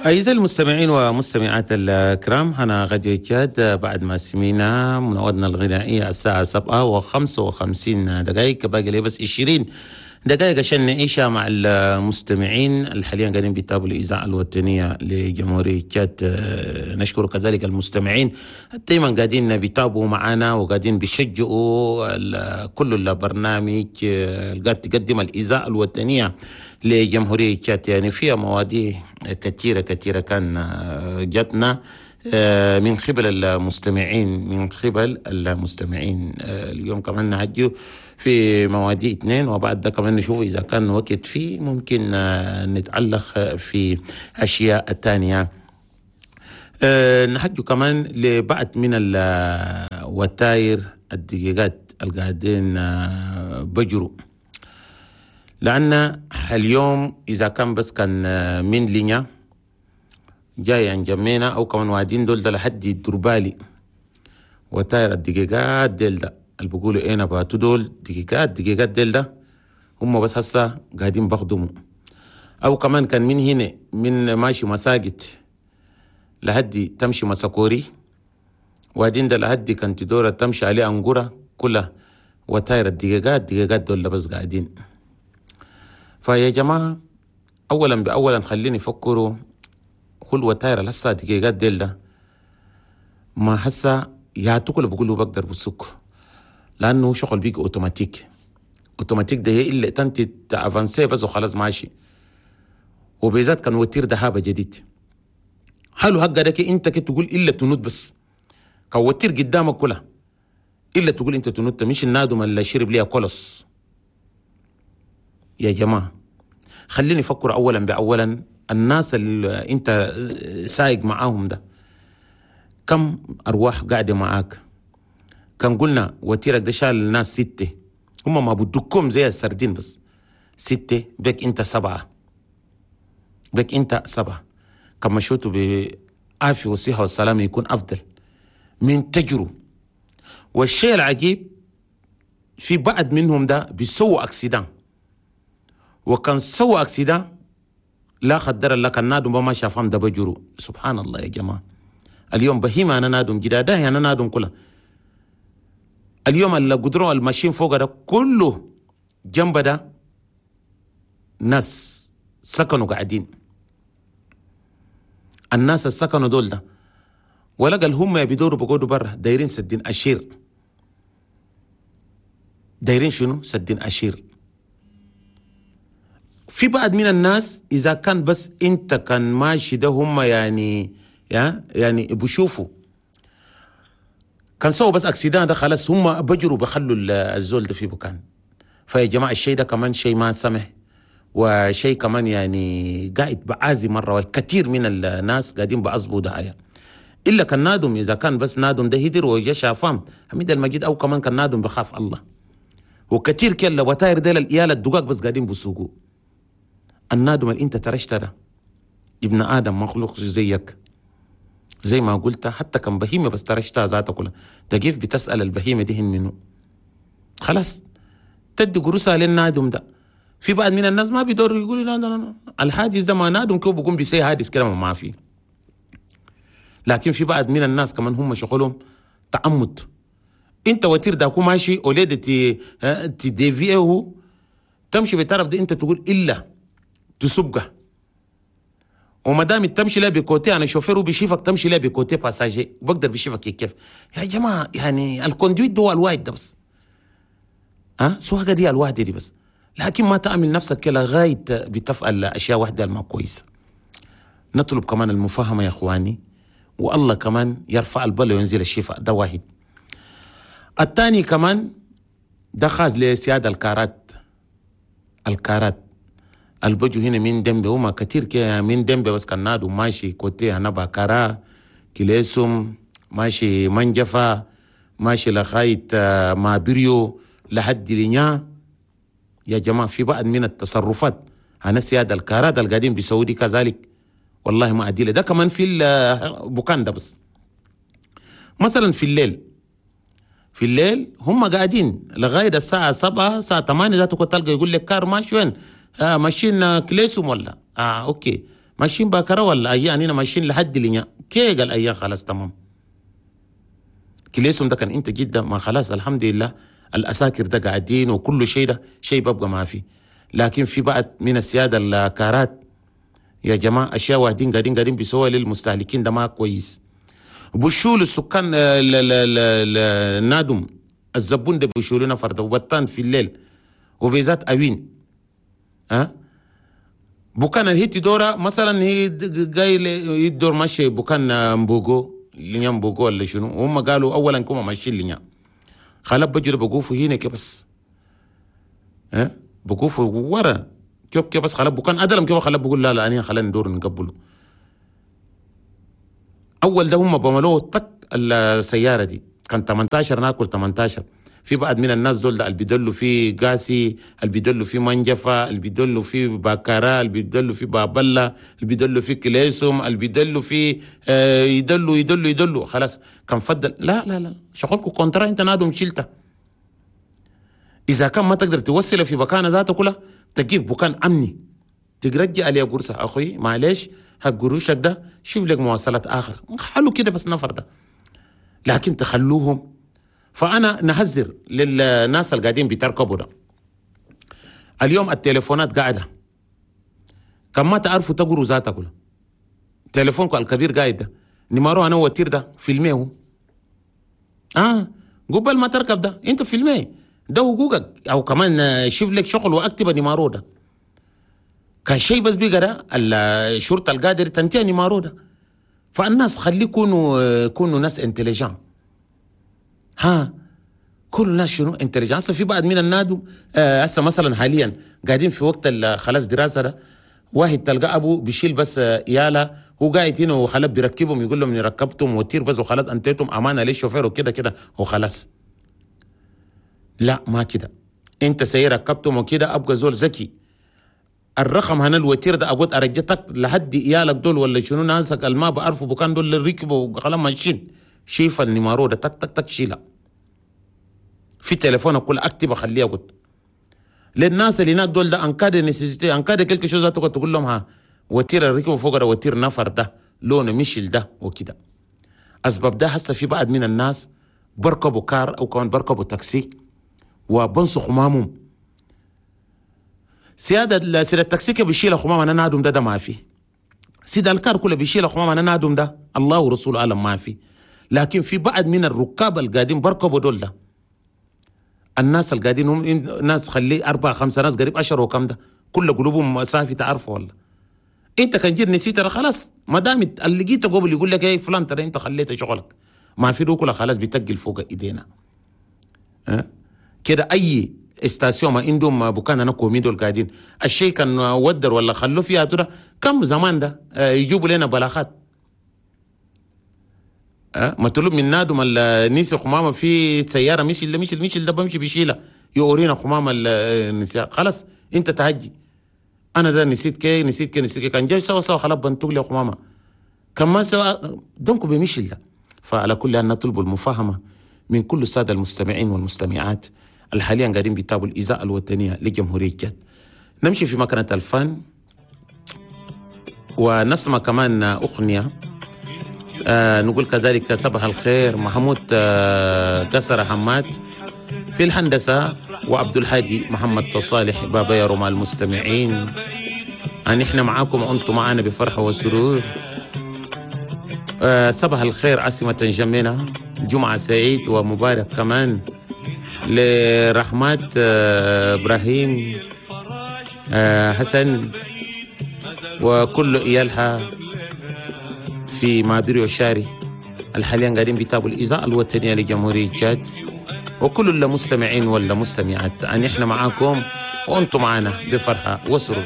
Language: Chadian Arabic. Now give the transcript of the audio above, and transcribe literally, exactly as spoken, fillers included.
أعزائي المستمعين ومستمعات الكرام، هنا راديو تشاد. بعد ما سمينا مناودنا الغنائية الساعة سبعة وخمسة وخمسين دقائق، باقي لي بس عشرين دقائق عشان نعيشها مع المستمعين اللي حاليا قاعدين بيتابعوا الإذاعة الوطنية لجمهورية تشاد. نشكر كذلك المستمعين دايما قاعدين بيتابعوا معنا وقاعدين بيشجعوا كل البرنامج اللي قاعد تقدم الإذاعة الوطنية لجمهورية تشاد. يعني فيها مواضيع كثيرة كثيرة كان جاتنا من قبل المستمعين من قبل المستمعين اليوم كمان نعجو في مواضيع اثنين، وبعد ده كمان نشوف إذا كان وقت فيه ممكن نتعلق في أشياء تانية. نحجو كمان لبعض من الوتاير الدقيقات القاعدين بجروا، لأن اليوم إذا كان بس كان من لينيا جاي عن جمينا أو كمان وادين دول ده لحد الدربالي وتاير الدقيقات ديل ده اللي بيقولوا إيه نباتو دول دقيقات دقيقات ديل ده هم بس هسه قاعدين بخدموا. أو كمان كان من هنا من ماشي مساجد لحد تمشي مساكوري وادين ده لحد كان تدورة تمشي عليه أنقرة كلها وتاير الدقيقات دقيقات دول بس قاعدين. فيا جماعة أولا بأولا خليني يفكروا كل وتاير لسه دقيقات ديل ده ما هسه يا تقول بقولوا بقدر بسوق، لأنه شغل بيجي أوتوماتيك أوتوماتيك ده هي إلا تنتي ت avancer بس وخلاص ماشي. وبالذات كان وتير دهابة جديد حلو حق ده انت كنت تقول إلا تنود بس كان وتير قدامك كلها إلا تقول انت تنود مش النادم اللي شرب ليها كولوس. يا جماعة خليني أفكر أولا بأولا الناس اللي انت سايق معاهم ده كم أرواح قاعدة معاك. كان قلنا وتيرك ده شال الناس ستة، هم ما بدكم زي السردين بس ستة بك انت سبعة بك انت سبعة. كما شوتوا بعافية والصحة والسلامة يكون أفضل من تجروا. والشيء العجيب في بعض منهم ده بيسووا accident، وكان سووا accident لا خدر الله كان نادم ما شافهم ده بجروا. سبحان الله يا جماعة، اليوم بهيمة أنا نادم جداده أنا نادم كلها. اليوم اللي قدروا الماشيين فوق ده كله جنب ده ناس سكنوا قاعدين، الناس السكنوا دول ده ولا قال هم بيدوروا بقعدوا برا دايرين سدين أشير، دايرين شنو؟ سدين أشير. في بعض من الناس إذا كان بس أنت كان ماشي ده هم يعني يا يعني بشوفوا كان سووا بس accident ده خلاص هم بجروا بخلوا الزول ده في بكان. فيا جماعة الشيء ده كمان شيء ما سمح، وشيء كمان يعني قاعد بعازي مرة، وكثير من الناس قاعدين بعصبوا دعاية. إلا كان نادم إذا كان بس نادم ده هدر وجا شافام حميد المجيد، أو كمان كان نادم بخاف الله. وكثير كلا وتاير ديل الإيالة الدقاق بس قاعدين بسوقوا. النادم اللي انت ترشت ده ابن آدم مخلوق زيك زي ما قلت، حتى كان بهيمة بس ترشتها ذاتها كلها تجيف بتسأل البهيمة دي منه خلاص تدي قروسها للنادم ده. في بعض من الناس ما بيدوروا يقولوا لا لا لا الحادث ده ما نادم كيف بيقوم بيسي حادث كده ما في. لكن في بعض من الناس كمان هم شغلهم تعمد، انت وتير داكو ماشي اولاد تي تديفيه تمشي بطرف ده انت تقول الا تسبقه، وما دام تمشي لا ب côté انا شوفير وبيشوفك تمشي لا ب côté passager وبقدر بيشوفك كيف. يا جماعه يعني ال conduite ده الواحد ده بس ها سواقه دي الواحده دي بس، لكن ما تامن نفسك كده لغايه بتفعل اشياء واحده ما كويسه. نطلب كمان المفاهمه يا اخواني، والله كمان يرفع البل وينزل الشفاء ده واحد. الثاني كمان ده خاص لسيادة الكارات، الكارات البجو هنا من دمبي هما كتير كده من دمبي بس كان نادو ماشي côté هنا كارا كليسوم ماشي منجفة ماشي لغاية ما بريو لحد لنيا. يا جماعة في بعض من التصرفات أنا سيادة الكارات القاعدين بيسووا كذلك والله ما أديله. ده كمان في البوكان ده بس مثلا في الليل، في الليل هم قاعدين لغاية الساعة سبعة الساعة ثمانية ذاته كنت تلقى يقول لك كار ماشي وين؟ آه ماشيين كليسوم ولا آه okay ماشيين باكرة ولا ايان هنا ماشيين لحد لنيا كي قال ايان خلاص تمام. كليسهم ده كان انت جدا ما خلاص الحمد لله الاساكر ده قاعدين وكل شيء ده شيء ببقى ما في. لكن في بعض من السيادة الكارات يا جماعة اشياء واحدين قاعدين قاعدين بيسووا للمستهلكين ده ما كويس. بشول السكان النادم الزبون ده بيشولنا فرد وبطان في الليل وبذات اوين ها بكان الهيتي دورة مثلا هي جاي يدور ماشي بكان مبوغو لنيا مبوغو ولا شنو، وهم قالوا اولا كما ماشيين لنيا خلاص بجري بقوفوا هنا كيف بس ها بقوفوا ورا كيف كيف بس خلاص بكان ادلم كيف خلاص بقول لا لا انا خلينا ندور نقبله. اول ده هم بملوه طق السيارة دي كان تمنتاشر ناكل تمنتاشر. في بعض من الناس دول ده اللي بيدلوا في قاسي، اللي بيدلوا في منجفة، اللي بيدلوا في باكارا، اللي بيدلوا في بابلا، اللي بيدلوا في كليسوم، اللي بيدلوا في آه يدلوا يدلوا يدلوا خلاص كان فضل. لا لا لا شغلكم contrat انت نادم شلته. اذا كان ما تقدر توصله في مكان ذاته كلها تجيب بكان امني ترجع عليه قرصة اخوي معلش حق قروشك ده شوف لك مواصلات اخر حلو كده بس نفر ده، لكن تخلوهم. فأنا نحذر للناس اللي قاعدين بيتركبوا ده اليوم التليفونات قاعدة كم ما تعرفوا تقروا ذاتها كلها. تليفونكم الكبير قاعد ده numéro انا voiture ده فيلميه اه قبل ما تركب ده انت فيلميه ده حقوقك، او كمان شوف لك شغل واكتب numéro ده. كان شيء بس بيقى ده الشرطة القادر تنتهي numéro ده. فالناس خلي يكونوا يكونوا ناس intelligents ها كل الناس شنو intelligents. هسه في بعض من النادو هسه آه مثلا حاليا قاعدين في وقت خلاص دراسة ده، واحد تلقى ابو بيشيل بس يالا هو قاعد هنا وخلاص بيركبهم يقول لهم اني ركبتهم voiture بس وخلاص انتيتم امانه للشوفير وكده كده وخلاص. لا ما كده، انت سي ركبتهم وكده ابقى زول ذكي. الرقم هنا ال voiture ده اقول ارجتك لحد عيالك دول ولا شنو ناسك الما بعرفوا بكان دول اللي ركبوا وخلاص ماشيين شيف ال numéro ده تك تك تك شيلها في تليفونك كل اكتب اخليها قلت للناس اللي هناك دول ده en cas de nécessité en cas de quelque chose تقول لهم ها voiture ركبوا فوق ده voiture نفر ده لونه مشل ده وكده. اسباب ده هسه في بعض من الناس بركبوا كار او كمان بركبوا تاكسي وبنصوا خمامهم. سيادة سيد التاكسي بيشيل خمام انا نادم ده ده ما في. سيد الكار كله بيشيل خمام انا نادم ده الله ورسوله اعلم ما في. لكن في بعض من الركاب القاعدين بركبوا دول ده الناس القاعدين هم ناس خلي أربعة خمسة ناس قريب عشرة وكم ده كل قلوبهم صافي تعرفوا والله. انت كان جيت نسيت خلاص ما دام اللي لقيته قبل يقول لك ايه فلان ترى انت خليت شغلك ما في كله خلاص بيتقل فوق ايدينا أه؟ كده اي station ما عندهم بكان انا commis دول قاعدين الشيء كان ودر ولا خلوه فيها ترى كم زمان ده أه يجيبوا لنا بلاغات أه مطلوب من نادم النيس خمامه في سيارة مشي اللي مشي مشي ده بمشي بيشيلها يورينا خمامه النساء خلاص انت تهجي انا ده نسيت كي نسيت كي نسيت كي كان جاي سوا سوا خلاص بنتوق لي خمامه كمان سوا donc بيمشي ده. فعلى كل ان نطلب المفاهمه من كل السادة المستمعين والمستمعات الحاليا قاعدين بيتابعوا الاذاعة الوطنية لجمهوريه تشاد. نمشي في مكنه الفن ونسمع كمان اغنية. آه نقول كذلك صباح الخير محمود آه قصر حماد في الهندسة وعبد الهادي محمد صالح بابا يا رمال المستمعين. أن احنا معاكم وأنتم معنا بفرحة وسرور. آه صباح الخير عاصمة جميلة، جمعة سعيد ومبارك كمان لرحمات آه إبراهيم آه حسن وكل إيالها في مابيريو شاري الحاليا قاعدين بيتابعوا الإذاعة الوطنية لجمهورية تشاد وكل المستمعين والمستمعات. أن إحنا معاكم وأنتم معنا بفرحة وسرور.